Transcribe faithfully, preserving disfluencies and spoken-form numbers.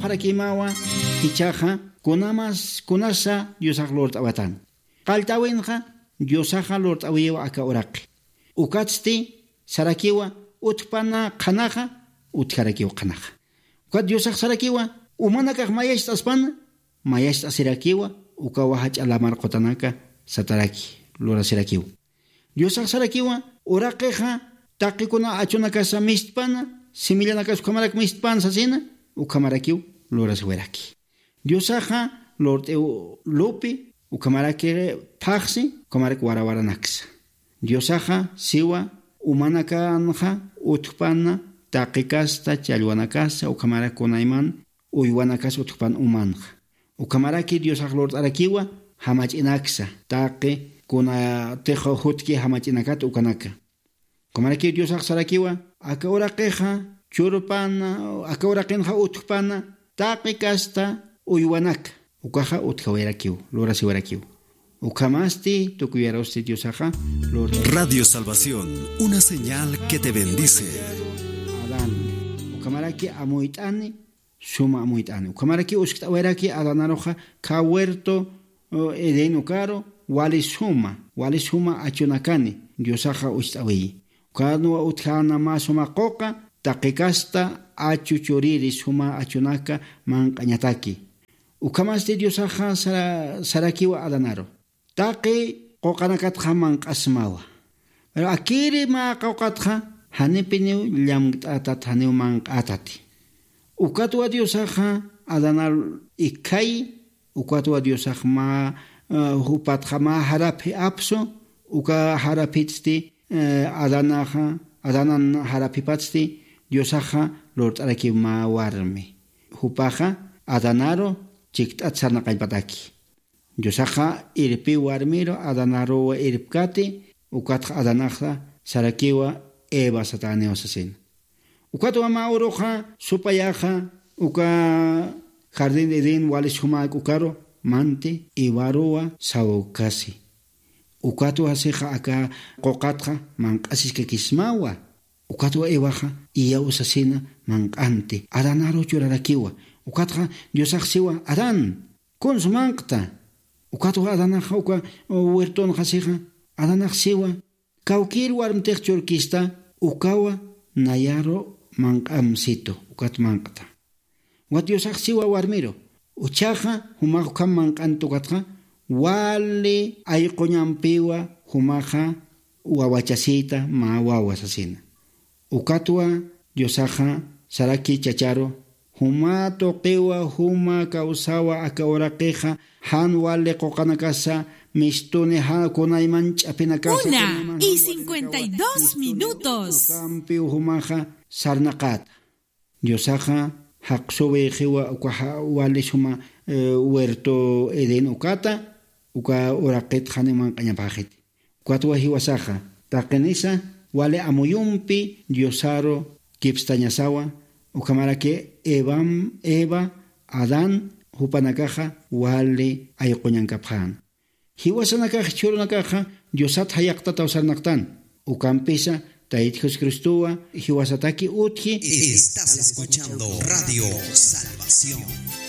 Jarakimawa jichhaxa kunamas kunasa Diosax lurt'awatan. Qallt'äwinxa Diosaxa lurt'äwiwa aka uraqi. Ukatsti sarakiwa utjpana qhanaxa, utjarakiw qhanaxa. Ukat Diosax sarakiwa umanakax mayacht'aspana, mayacht'asirakiwa ukawa jach'a lamar qutanaka sataraki lurasirakiw. Diosax sarakiwa uraqixa taqikuna achunakasa mistpana, simillanakas ukhamarak mistpana sasina, ukhamarakiw lurasiwiraki. Diosaxa lurt'iw lupi, ukhamaraki phaxsi, ukhamarak warawaranaksa. Diosaxa siwa umanakanxa utjpana taqi kasta challwanakasa, ukhamarak kunayman uywanakas utjpan umanxa. Ukhamaraki Diosax lurt'arakiwa jamach'inaksa, taqi kunatix jutki jamach'inakat ukanaka. Ukhamaraki Diosax sarakiwa aka uraqixa churpana, aka uraqinxa utjpana taqi kasta uywanaka. Ukaxa utjawayarakiw, lurasiwarakiw. Ukhamasti tukuyarusti Diosaxa lurt'arakiwa. Radio Salvación, una señal que te bendice. Adán, ukhamaraki amuyt'ani, suma amuyt'ani. Ukhamaraki uskt'awayraki Adanaruxa kha huerto, o, Edén ukaru, wali suma, wali suma achunakani Diosaxa ucht'awiyi. Ukanwa utjäna mä suma quqa, taqi kasta achu churiri suma achunaka manq'añataki. Ukhamasti Diosaxa sara-, sarakiwa Adanaru. Taqi quqanakatxa manq'asmawa. Pero akiri mä quqatxa janipiniw llamkt'atat, janiw manq'atati. Ukatwa Diosaxa Adanar ikhay, ukatwa Diosax mä, eh, jupatxa mä jaraphi apsu, uka jaraphitsti, eh, Adanaxa, Adanan jaraphipatsti Diosaxa lurt'arakiw mä warmi. Jupaxa Adanaru chikt'at sarnaqañpataki. Diosaxa irpiw warmiru, Adanaruwa irpkati, ukatxa Adanaxa sarakiwa Eva satäniw sasina. Ukatwa mä uruxa supayaxa uka jardín de Edén wali sumäk ukaru manti Evaruwa sawkasi. Ukatwa sixa aka quqatxa manq'asiskakismawa. Ukatwa Evaxa iyaw sasina manq'anti. Adanaru churarakiwa. Ukatxa Diosax siwa, Adán, kuns manq'ta. Ukatwa Adanaxa uka huertonxa sixa, Adanax siwa, kawkïr warmtix churkista, ukawa nayaru manq'amsitu, ukat manq'ta. Ukat Diosax siwa warmiru, jichhaxa jumax ukham manq'anti ukatxa, wali ayquñampiwa jumaxa wawachasïta mä wawa sasina. Ukatwa Diosaxa saraki chacharu, juma tuqiwa, juma kawsawa aka uraqixa, jan wali quqanakasa mistuni, jan kunayman ch'apinakasa, Una kunayman y jan wali cincuenta y dos minutos. Ukampiw jumaxa sarnaqata. Diosaxa jaqsuwixiwa uka ja-, wali suma, eh, huerto Edén ukata, uka uraqit janiw manq'añapäxiti. Ukatwa jiwasaxa, taqinisa wali amuyumpi Diosaru kipstañasawa, ukhamaraki Evam-, Eva, Adán, jupanakaxa wali ayquñankapxän. Jiwasanakax jichhürunakaxa Diosat jayaqtataw sarnaqtan. Ukampisa Tayt Jesucristowa jiwasataki utji. Estás escuchando Radio Salvación.